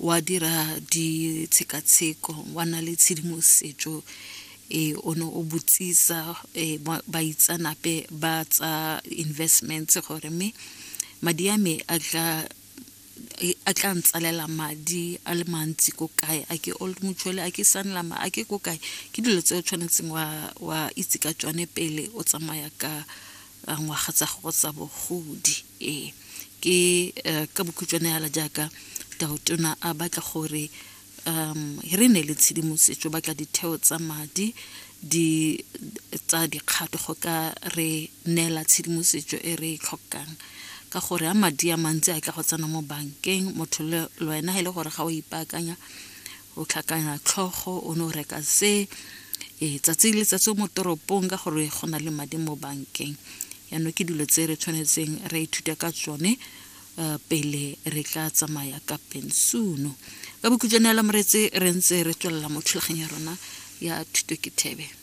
Wa dira ditshekatsheko, wa nna le tshedimosetso e o ne o botsisa baitsanape ba tsa investments gore mme madi a me a tla a tla ntsalela madi a le mantsi ko kae, a ke Old Mutual, a ke Sanlam, a ke ko kae. Ke dilo tse o tshwanetseng wa itse ka tsone pele o tsamaya ka ngwaga tsa gago tsa bogodi. Ee, ke ka bokhutshwane yala jaaka Tautona a batla gore re ne le tshedimosetso, batla ditheo tsa madi di tsa dikgato go ka re neela tshedimosetso e re e tlhokang, ka gore a madi a mantsi a tla go tsena mo bankeng, motho le wena e le gore ga o ipaakanya, o tlhakanya tlhogo, o ne o reka se ee tsatsi le letsatsi mo toropong ka gore go na le madi mo bankeng. Yaanong ke dilo tse re tshwanetseng re ithuta ka tsone pele re tla tsamaya ka pensuno. Ka bokhutshwane la moretse, re ntse re tswelela mo thulaganyo ya rona ya Thuto ke Thebe.